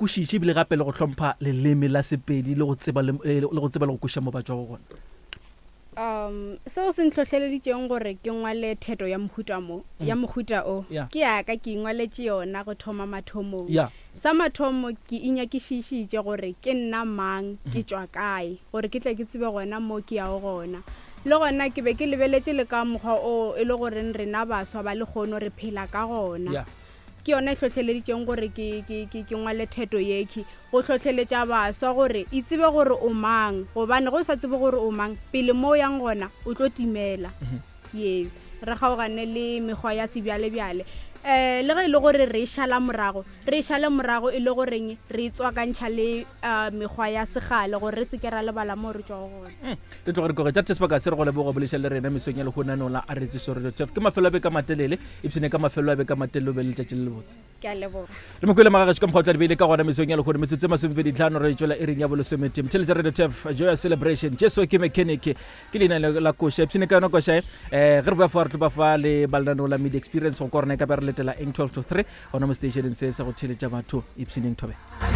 kwešiše ebile gape le go hlompha leleme la Sepedi le go tseba le, le go tseba le go kwešiša mo ba tšwago gona? Um, seo se ntlhohleleditšeng gore ke ngwale theto ya mohuta mo, ya mohuta o, Yeah. ke ya ka ke ingwaletše yona go thoma mathomong. Yeah. Sa mathomo ke inyakišišitše gore ke nna mang, ke tšwa kae, gore ke tle ke tsebe gona mo ke yago gona. Le gona ke be ke lebeletše le ka mokgwa o e le goreng rena baswa ba lehono re phela ka gona. Yeah. Ke yona e hlohleleditšeng gore ke, ke, ke, ke ngwale theto yekhwi, go hlohleletša baswa gore itsebe gore o mang, gobane ge o sa tsebe gore o mang, pele mo o yang gona o tlo timela. Yes, re kgaogane le mekgwa ya sebjalebjale. Um le ge e le gore re e šala morago, re e šale morago e le goreng re e tswakantšha le um mekgwa ya segale gore re se ke ra lebala moo re tšwago gona. Re tloge re tloge tša sebaka se re go leboga bolešang le rena mesong ya lehono la a re tseso radio tf ke mafelo a beka matelele ipshine ka mafelo a beka matelele o be le letšatši le lebotse. Ke a leboga. Re mokwele magagešo ka mokgwa o tla di beile ka gona mesong ya lehono metsotso e masomepeditlhano re tšwela iring ya bolesometee motheletša radio tf joya celebration Jesu ke mechanic ke leina le la koša ipshine ka yona koša e um ge re boya fa re tlo ba fa le balenaneo la media experience go kwa rona e ka be re letela eng 12 to 3 gona mo stationeng se sa go theletša batho ipshineng thobe.